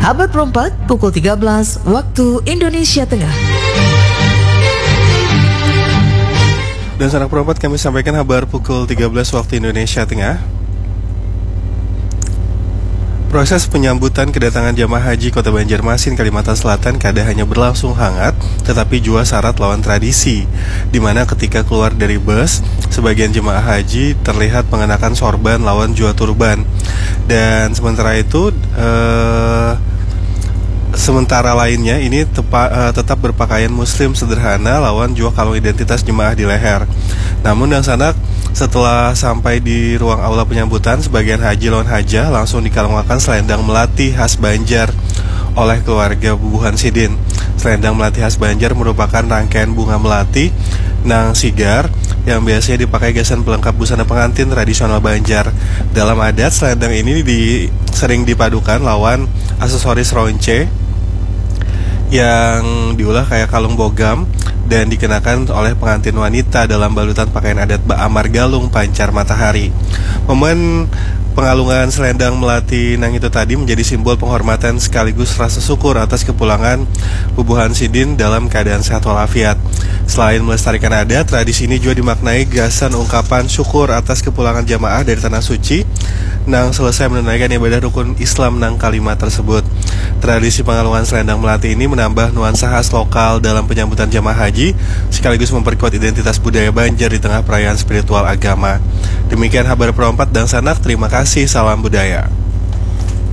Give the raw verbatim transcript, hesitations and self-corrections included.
Abad perempat, pukul tiga belas waktu Indonesia Tengah. Dan sanak perempat, kami sampaikan habar pukul tiga belas waktu Indonesia Tengah. Proses penyambutan kedatangan jamaah haji Kota Banjarmasin, Kalimantan Selatan kada hanya berlangsung hangat, tetapi juga syarat lawan tradisi, di mana ketika keluar dari bus, sebagian jemaah haji terlihat mengenakan sorban lawan jua turban. Dan sementara itu, eh, sementara lainnya ini tepa, eh, tetap berpakaian muslim sederhana lawan jua kalung identitas jemaah di leher. Namun, dangsanak, setelah sampai di ruang aula penyambutan, sebagian haji lawan hajah langsung dikalungakan selendang melati khas Banjar oleh keluarga bubuhan sidin. Selendang melati khas Banjar merupakan rangkaian bunga melati nang sigar yang biasanya dipakai gasan pelengkap busana pengantin tradisional Banjar. Dalam adat, selendang ini di, sering dipadukan lawan aksesoris ronce yang diulah kayak kalung bogam dan dikenakan oleh pengantin wanita dalam balutan pakaian adat baamar galung pancar matahari. Momen pengalungan selendang melati nang itu tadi menjadi simbol penghormatan sekaligus rasa syukur atas kepulangan bubuhan sidin dalam keadaan sehat walafiat. Selain melestarikan adat, tradisi ini juga dimaknai gasan ungkapan syukur atas kepulangan jamaah dari Tanah Suci nang selesai menunaikan ibadah rukun Islam nang kalima tersebut. Tradisi pengalungan selendang melati ini menambah nuansa khas lokal dalam penyambutan jamaah haji, sekaligus memperkuat identitas budaya Banjar di tengah perayaan spiritual agama. Demikian habar perompat, dangsanak, terima kasih, salam budaya.